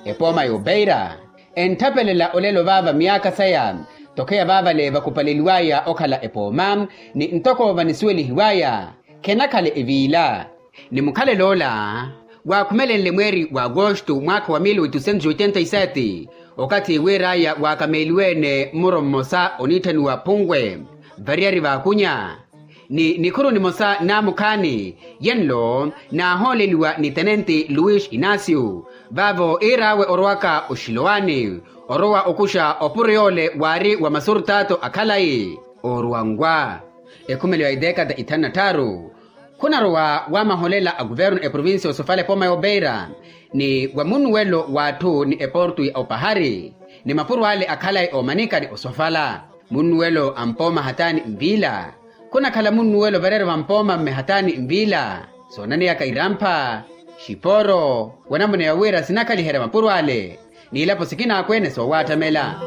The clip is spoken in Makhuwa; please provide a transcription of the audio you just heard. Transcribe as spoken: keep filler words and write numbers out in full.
Epooma y'opeira entthapelella olelo vaava myaakha saya. Tokheya vaavale vakupaleliwaya okhala epooma ni ntoko vanisuwelihiwaya khenakhala eviila. Ni mukhalelo ola waakhumelenle mweeri wa agosto mwaakha wa mil oitocentos oitenta e sete okathi wiiraya waakameeliwe-ene mmuro mmosa oniitthaniwa phunwe variyari vaakunya ni nikhuru nimosa naamukhaani yenlo naahooleliwa ni tenenti luis inacio. Vaavo iir'awe orowaka oxilowaani orowa okuxa opuro yoole waari wa masurtato a khalayi oruwanwa ekhumeliwa ya idekata ithanu na tthaaru. Khunarowa wamaholela a kuvernu eprovincia osofala epooma y'opeira ni wa munnuwelo w'atthu ni eportu ya opahari ni mapuro ale akhalayi oomanika ni osofala. Munnuwelo a mpooma hataani nviila khunakhala munnuwelo vareera va mpooma mme hataani nviila soonaneyaka irampha xiporo wa namuna ya wira sinakhaliherya mapuro ale n'ilapo sikina akweene soowaattamela.